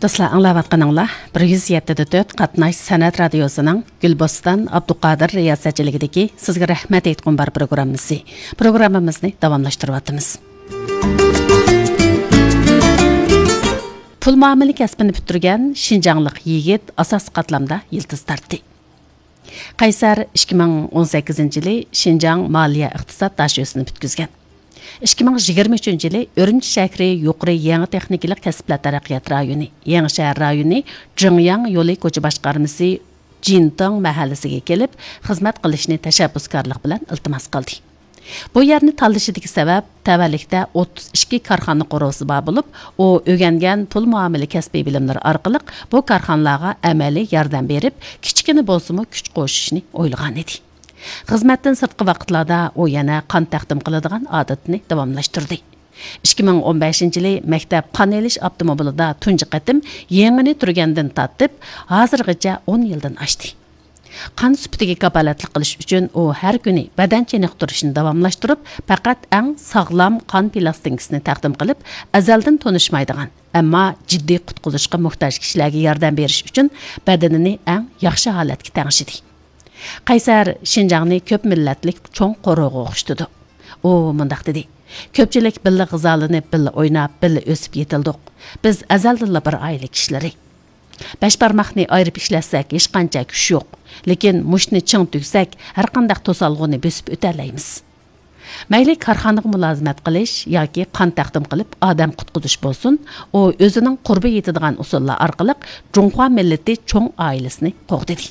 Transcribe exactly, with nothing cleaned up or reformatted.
دوستلار، ئاڭلاۋاتقىنىڭلار بىر يۈز يەتتە دە تۆت قاتناش سەنئەت رادىيوسىنىڭ گۈلبوستان ئابدۇقادىر رىياسەتچىلىكىدىكى سىزگە رەھمەت ئېيتقۇم بار پروگراممىسى. پروگراممىمىزنى داۋاملاشتۇرۇۋاتىمىز. پۇل مۇئامىلە كەسپىنى پۈتتۈرگەن شىنجاڭلىق يىگىت ئاساسىي قاتلامدا يىلتىز تارتتى. قەيسەر ئىككى مىڭ ئون سەككىزىنچى يىلى شىنجاڭ مالىيە ئىقتىساد داشۆسىنى پۈتكۈزگەن. ئىككى مىڭ يىگىرمە ئۈچىنچى يىلى ئۈرۈمچى شەھىرى يۇقىرى يېڭى تېخنىكىلىق كەسىپلەر تەرەققىيات رايونى، يېڭى شەھەر رايونى جىڭياڭ يولى كوچا باشقارمىسى جىنتاڭ مەھەللىسىگە كېلىپ، خىزمەت قىلىشنى تەشەببۇسكارلىق بىلەن ئىلتىماس قىلدى. بۇ يەرنى تاللىشىدىكى سەۋەب، تەۋەلىكتە ئوتتۇز ئىككى كارخانا قورۇسى بار بولۇپ، ئۇ ئۆگەنگەن پۇل مۇئامىلە كەسپىي بىلىملىرى ئارقىلىق بۇ كارخانىلارغا ئەمەلىي ياردەم بېرىپ، كىچىككىنە بولسىمۇ كۈچ قوشۇشنى ئويلىغانىدى. خىزمەتتىن سىرتقى ۋاقىتلاردا ئۇ يەنە قان تەقدىم قىلىدىغان ئادىتىنى داۋاملاشتۇردى. ئىككى مىڭ ئون بەشىنچى يىلى مەكتەپ قان ئېلىش ئاپتوموبىلىدا تۇنجى قېتىم يېڭىنى تۈرگەندىن تارتىپ، ھازىرغىچە ئون يىلدىن ئاشتى. قان سۈپىتىگە كاپالەتلىك قىلىش ئۈچۈن ئۇ ھەر كۈنى بەدەن چېنىقتۇرۇشنى داۋاملاشتۇرۇپ، پەقەت ئەڭ ساغلام قان پىلاستىنكىسىنى تەقدىم قىلىپ، ئەزەلدىن تونۇشمايدىغان، ئەمما جىددىي قۇتقۇزۇشقا موھتاج كىشىلەرگە ياردەم بېرىش ئۈچۈن بەدىنىنى ئەڭ ياخشى ھالەتكە تەڭشىدى. قەيسەر شىنجاڭنى كۆپ مىللەتلىك چوڭ قورۇغا ئوخشىتىدۇ. ئۇ مۇنداق دېدى: «كۆپچىلىك بىللە غىزالىنىپ، بىللە ئويناپ، بىللە ئۆسۈپ يېتىلدۇق. بىز ئەزەلدىنلا بىر ئائىلە كىشىلىرى. بەش بارماقنى ئايرىپ ئىشلەتسەك، ھېچقانچە كۈچ يوق. لېكىن مۇشتنى چىڭ تۈگسەك، ھەرقانداق توسالغۇنى بۆسۈپ ئۆتەلەيمىز.» مەيلى كارخانىغا مۇلازىمەت قىلىش ياكى قان تەقدىم قىلىپ ئادەم قۇتقۇزۇش بولسۇن، ئۇ ئۆزىنىڭ قۇربى يېتىدىغان ئۇسۇللار ئارقىلىق جۇڭخۇا مىللىتى چوڭ ئائىلىسىنى قوغدىدى.